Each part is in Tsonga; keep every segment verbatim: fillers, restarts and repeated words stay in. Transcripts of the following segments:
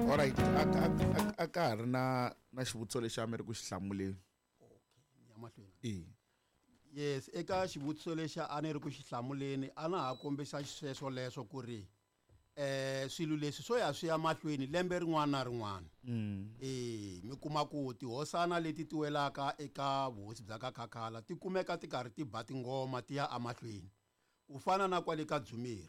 Alright, a a a ka ha ri na na xivutiso lexi a mi ri ku xi hlamuleni. Okay, ni ya mahlweni. E. Yes, eka xivutiso lexi a ni ri ku xi hlamuleni a na ha kombisa xisweswo leswo ku ri eh swilo leswi swo ya swi ya mahlweni lembe rin'wana na rin'wana. Mm. Eh mi kuma ku tihosana leti ti welaka eka vuhosi bya ka Khakhala ti kumeka ti karhi ti ba tingoma ti ya emahlweni. Ku fana na kwale ka Dzumeri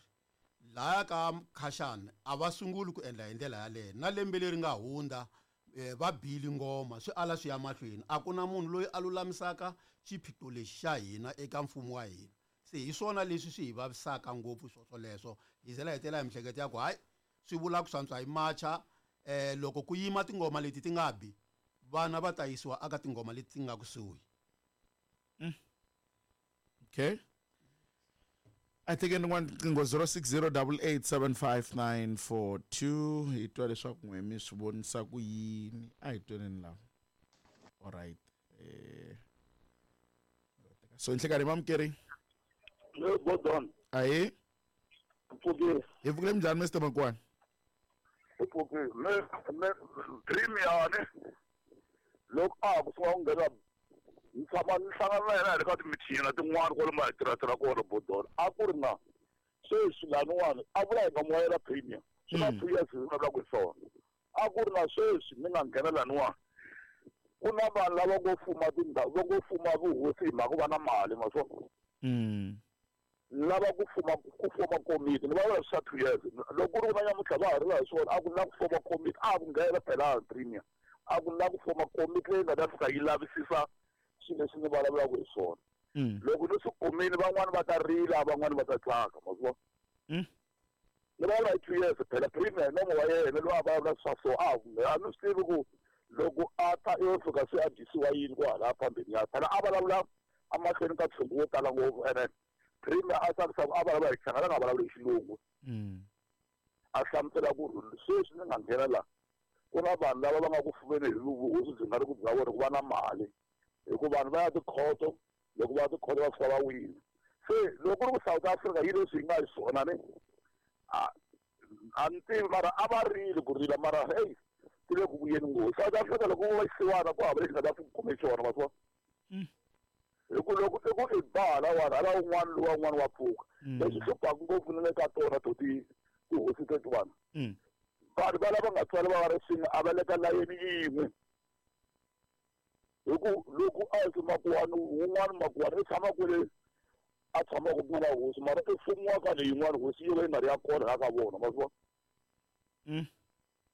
laya ka Khashana a va sunguli ku endla hi ndlela yaleyo na lembe leri nga hundza eh, va bili ngoma swi ala swi ya mahlweni a ku na munhu loyi a lulamisaka xiphiqo lexi xa hina eka mfumo wa hina se hi swona leswi swi hi vavisaka ngopfu swoswoleswo hi zela hetela hi mihleketo ya ku hayi swi vula ku swantswa hi macha eh loko ku yima tingoma leti ti nga bi vana va ta yisiwa aka tingoma leti ti nga kusuhi. Okay. I think rin'wana riqingho zero six zero double eight seven five nine four two hi twa leswaku n'we mi swi vonisa ku yini a hi tweneni lava. Alright. Eh so nhlekanhi mamukeri. Le Gordon. Ahe. Pfukile. Hi pfukile minjhani Mister Makwana? Hi pfukile. Me me dream ya ne. Loko a ku sungula ku nghena ni tshama ni hlangana na yena hi le ka timithini na tin'wana kwalomu hi tirha kona Bodon. A ku ri na sweswi laniwani a vula hi nga moyela premier. Swi na two years hi vulavulaka hi swona. A ku ri na sweswi ni nga nghena laniwani. Ku na vanhu lava ngo fuma tindhawu va ngo fuma vuhosi hi mhaka ku va na mali ma swona. Mm. Lava ku fuma ku foma komiti ni va swa two years loko ku ri ku na nyamutlha va ha ri hi swona a ku na ku foma komiti a ku nghena phela premier a ku na ku foma komiti leyi nga ta fika yi lavisisa swilo leswi ni vulavulaka hi swona. Loko ni swi kumile van'wani va ta rila van'wani va ta tsaka ma swi vona. Ni vulavula hi two years phela premier nomo wa yena loyi a vulavula swa so a a ni swi tivi ku loko a ta yo fika se a dyisiwa yini ku hala phambeni ya phela a vulavula emahlweni ka ntshungu wo tala ngopfu ene premier a tsakisa ku a vulavula hi Xichangana a nga vulavuli hi xilungu. A hlamusela ku sweswi ni nga nghena la ku na vanhu lava va nga ku fumeni hi vuhosi byi nga ri ku bya vona ku va na mali hi ku vanhu va ya tikhoto loko va ya tikhoto va fika va wina se loko ku ri ku South Africa yi leswi yi nga hi swona ni a a ni tivi mara a va rili ku rila mara hey ti le ku vuyeni ngopfu South Africa loko va xisiwana ku hava lexi nga ta kume xona ma swi vona. Hi ku loko i ku i ba halawani hala un'wana lowa un'wana wa pfuka leswi hluphaka ngopfu na le ka tona to ti tihosi tetiwana vanhu va lava nga tswala va va ri swin'we a va le ka layeni yin'we hi ku loko a hi makuwani wun'wana makuwani i tshama kwele a tshamaka ku nga na hosi mara i fumiwa ka leyin'wana hosi yo va yi nga ri ya kona la ka vona ma swi vona.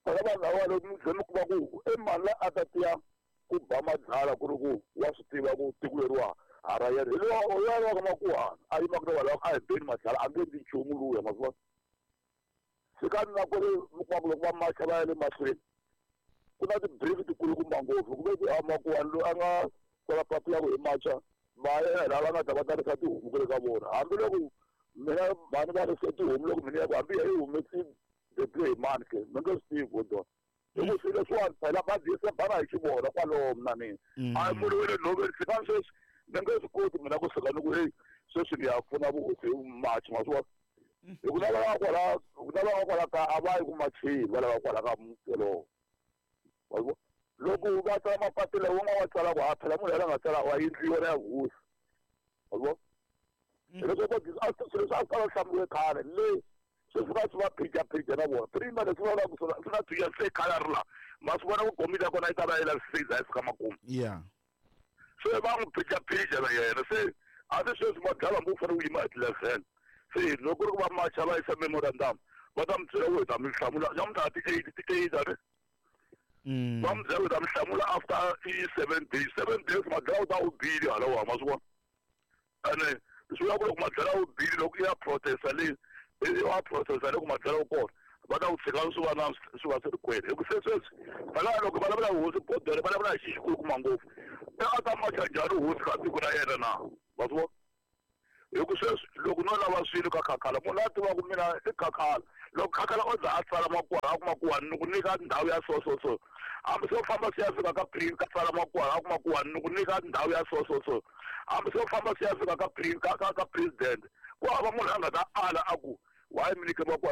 Phela vanhu lava loko mi mi kuma ku i mani la a ta tiya ku ba madlala ku ri ku wa swi tiva ku tiko leriwa ha ra yena hi lowa wa ka makuwani a yimaka na vanhu a hi beni madlala a nge endli nchumu luya ma swi vona. Se ka na ku ri mi kuma ku loko va macha va ya le mahlweni ku na ti-brief tikulukumba ngopfu ku ve ku a makuwani loyi a nga tsala papila ku hi macha va yena lava nga ta va tarisa tihomu ku le ka vona hambiloko mina mhani va rise tihomu loko mina ya ku hambi yi humesi deble hi mani ke mi nge swi tivi Godon hi ku swilo leswiwani phela va dyisa bana hi xivona kwalomu na mina a hi munhu wa le nhoveni fika sweswi ni nge swi koti mina ku suka ni ku heyi sweswi ni ya pfuna vuhosi hi machi ma swi vona hi ku lava nga kwala ku lava nga kwala ka a va yi ku macheni va lava kwala ka muti wolowo loko va tsala mapapila wu nga wa tsala ku ha phela munhu yena nga tsala wa yindlu yona ya vuhosi ma swi vona hileswo a swilo leswi a swi tala hlamuriwe khale le sweswi va swi va phija-phija na vona premier leswi va vulaka swona swi na two years se khale a ri laha ma swi vona ku komiti ya kona yi ta va yi lavisise yi za yi fika makumu se va n'wi phija-phija na yena se a se sweswi madlala hambi u fanele u yima hi ti-eleven se loko ku ri ku va macha va yisa memorandum va ta mi byela ku hi ta mi hlamula namuntlha ti-eight ti-eight a ni va mi byela ku hi ta mi hlamula after i seven days seven days madlala u ta u bile halawa ma swi vona ene swi vula ku loko madlala u bile loko i ya protesta leyi i wa processa loko madlala u kona va ta ku tshika swi va na swi va swi ri kwele hi ku se sweswi phela loko va vulavula hosi Bodere va vulavula hi xi xikulukumba ngopfu i a ta macha njhani hosi ka tiko ra yena na ma swi vona hi ku sweswi loko no lava swilo ka Khakhala munhu a tivaka mina i Khakhala loko Khakhala o za a tsala makuwani a ku makuwani ni ku nyika ndhawu ya so so so hambi swo famba swi ya fika ka pre ka tsala makuwani a ku makuwani ni ku nyika ndhawu ya so so so hambi swo famba swi ya fika ka pre ka ka ka president ku hava munhu a nga ta ala a ku why mi nyike makuwani